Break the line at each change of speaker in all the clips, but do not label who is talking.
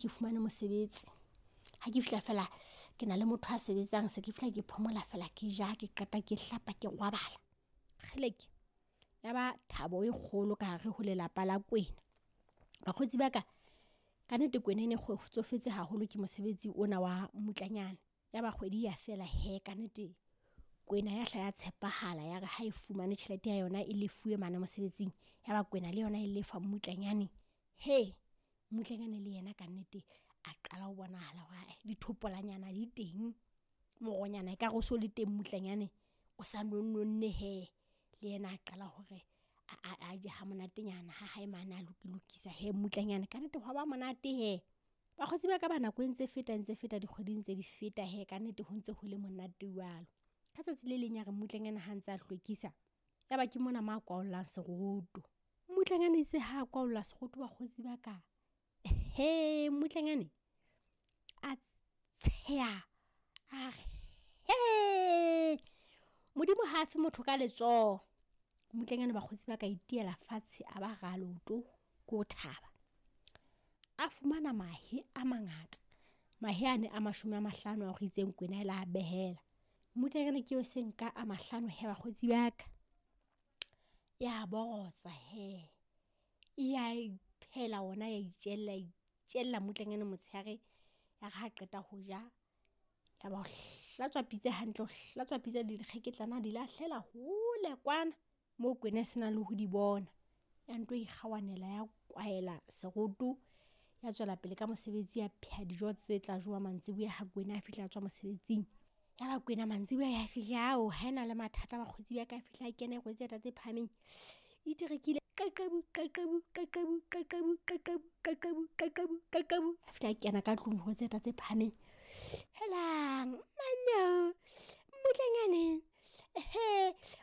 Ke fumane mosebetsi. Ha ke fihla fela ke na le motho a sebetsang, se ke fihla ke phomola fela ke ja, ke qeta ke hlapa ke robala. Kgeleke, ya ba thabo e kgolo ka hare ho lelapa la Kwena. Bakgotsi ba ka, ka nnete Kwena e ne kgotsofetse haholo ke mosebetsi ona wa mmutlanyane. Ya ba kgwedi ya fela he ka nnete Kwena ya hla ya tshepahala ya re ha e fumane tjhelete ya yona e lefuwe mane mosebetsing. Ya ba Kwena le yona e lefa mmutlanyane. He, mmutlanyane le yena ka nnete a qala ho bonahala hore ae dithopolanyana di teng. Moronyana ekare o so le teng mmutlanyane o sa nonnonne he. Le yena a qala hore a je ha monatenyana ha hae mane a lokilokisa he mmutlanyane. Ka nnete hwa ba monate he. Bakgotsi ba ka ba nako e ntse feta ntse feta dikgwedi ntse di feta he ka nnete ho ntse ho le monate jwalo. Ka tsatsi le leng ya re mmutlanyane ha ntse a hlwekisa, ya ba ke mona mo a kwaollang seroto. Mmutlanyane itse ha a kwaolla seroto bakgotsi ba ka, he mmutlanyane a tsheha a re he, Modimo ha fe motho ka letsoho. Mmutlanyane bakgotsi ba ka itiela fatshe a ba ra leoto ko ho thaba. A fumana mahe a mangata, mahe ane a 50 a re itseng Kwena e la behela. Mmutlanyane ke eo se nka a 50 he bakgotsi ba ka. Ya borotsa he, ya iphehela ona ya itjella, itjella mmutlanyane motshehare. Ya re ha qeta ho ja, ya ba o hlatswa pitsa hantle, o hlatswa pitsa le dikgeketlana a di lahlela hole kwana moo Kwena e se nang le ho di bona. Ya nto ikgawanela ya kwaela seroto, ya tswela pele ka mosebetsi ya pheha dijo tse tla jowa mantsiboya ha Kwena a fihla a tswa mosebetsing. Ya ba Kwena mantsiboya ya fihla ao ha ena le mathata bakgotsi ba ka, a fihla a kena e rwetse dieta tse phahameng. Iterekile qeqebu qeqebu qeqebu qeqebu qeqebu qeqebu qeqebu qeqebu. A fihla a kena ka tlung rwetse dieta tse phahameng. Helang manno mmutlanyane, he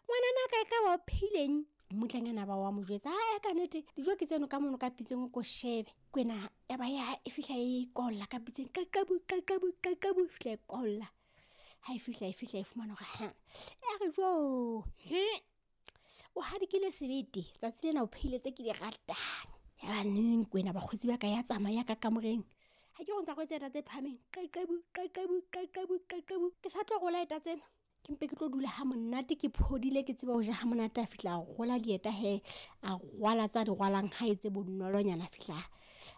ngwanana ka ka ba o pheileng. Mmutlanyane a ba wa mo jwetsa, ae ka nnete dijo ke tseno ka mono ka pitseng o ko shebe. Kwena ya ba ya e fihla e kwaolla ka pitseng qeqebu qeqebu qeqebu, e fihla e kwaolla. Ha e fihla e fihla e fumana hore ha ya re jo, o hadikile sebete tsatsi lena o phehile tse ke di ratang. Ya ba neng Kwena bakgotsi ba ka ya tsamaya ka kamoreng. Ha ke re o ntsa rwetse dieta tse phahameng qeqebu qeqebu qeqebu qeqebu. Ke sa tlo rola eta tsena, ke mpe ke tlo dula ha monate ke phodile ke tseba ho ja ha monate. A fihla a rola dieta he, a rwala tsa di rwalang ha etse bonolonyana.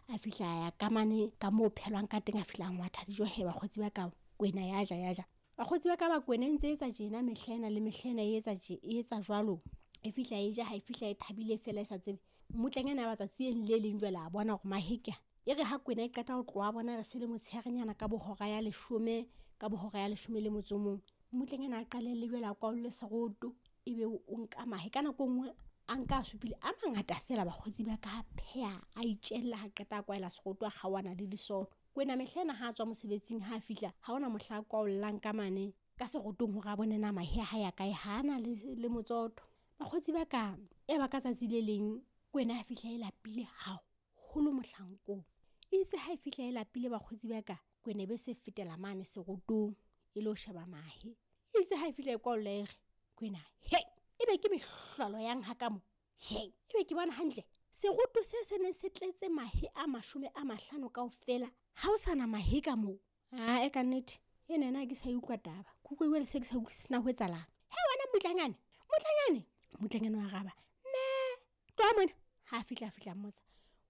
A fihla ya ka mane ka moo phelwang ka teng, a fihla a ngwatha dijo he bakgotsi ba ka. Kwena ya ja ya ja. Bakgotsi ba ka ba Kwena e ntse etsa tjena mehla ena le mehla ena e etsa tje, e etsa jwalo. E fihla e ja, ha e fihla e thabile fela e sa tsebe. Mmutlanyana wa tsatsi le leng jwale a bona hore mahe ke a. E re ha Kwena e qeta ho tloha bona re se le motshearenyana ka bohora ya 10, ka bohora ya 11. Mmutlanyana a qalelle jwale a kwaolle seroto, ebe o nka mahe. Ka nako e nngwe a nka a supile a mangata fela bakgotsi ba ka, a pheha a itjella, ha qeta a kwaela seroto a kgaohana le disolo. Kwena mehla ena ha a tswa mosebetsing ha a fihla, ha hona mohla a kwaollang ka mane ka serotong hore a bone na mahe a hae a kae, ha ana le motsoto. Bakgotsi ba ka, ya ba ka tsatsi le leng Kwena a fihla e lapile haholo mohlankong. Itse ha e fihla e lapile bakgotsi ba ka, Kwena e be se fetela mane serotong e lo sheba mahe. Itse ha e fihla e kwaolla e re, Kwena, he, ebe ke mehlolo yang ha ka mo? He, ebe ke bona hantle. Seroto se se neng se tletse mahe a 50 kaofela, ha o sana mahe ka moo. Ae ka nnete, ena ena ke sa utlwa taba. Ke utlwa jwale se ke sa utlwisise na ho etsahalang. He wena mmutlanyane, mmutlanyane. Mmutlanyane wa araba, mme, tloha mona. Ha a fihla, a fihla mmotsa,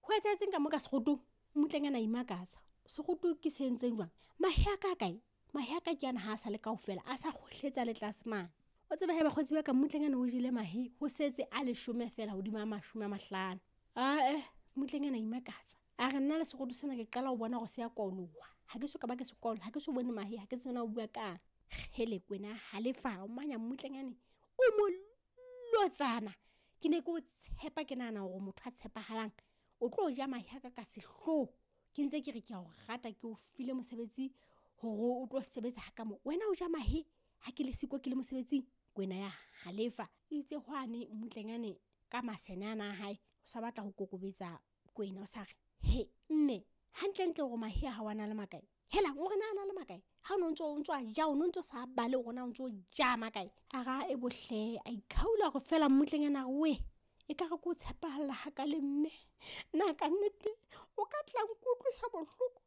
ho etsahetseng ka mo ka serotong? Mmutlanyane a imakatsa, seroto ke se entseng jwang? Mahe a ka a kae? Mahe a ka ke ana ha a sa le kaofela, a sa kgohletsa le tlase mane. O tsebe he bakgotsi ba ka, mmutlanyane o jele mahe, ho setse a 10 fela hodima a 50. Ae, mmutlanyane a imakatsa. A re nna le seroto sena ke qala ho bona hore se a kwaoloha. Ha ke so ka ba ke se kwaola, ha ke so bone mahe, ha ke tsebe na o bua kang. Kgele Kwena halefa, o manya mmutlanyane, o mo lotsana. Ke ne ke o tshepa, ke nahana hore motho a tshepahalang o tlo ja mahe a ka ka sehloho. Ke ntse ke re ke a o rata, ke o file mosebetsi hore o tlo sebetsa ha ka mo. Wena o ja mahe ha ke le siko ke le mosebetsing. Kwena ya halefa. Itse hwane mmutlanyane ka masene ana a hae, o sa batla ho kokobetsa Kwena, o sa re, he mme, hantlentle hore mahe a hao a na le makae? Helang, o re na a na le makae? Ha o no ntso o ntso a ja, o no ntso sa bale hore na o ntso ja makae? A ra e bohle, a ikhaula hore fela mmutlanyana a re, we, e ka re ke o tshepahalla ha ka le mme. Na ka nnete o ka tla nkutlwisa bohloko?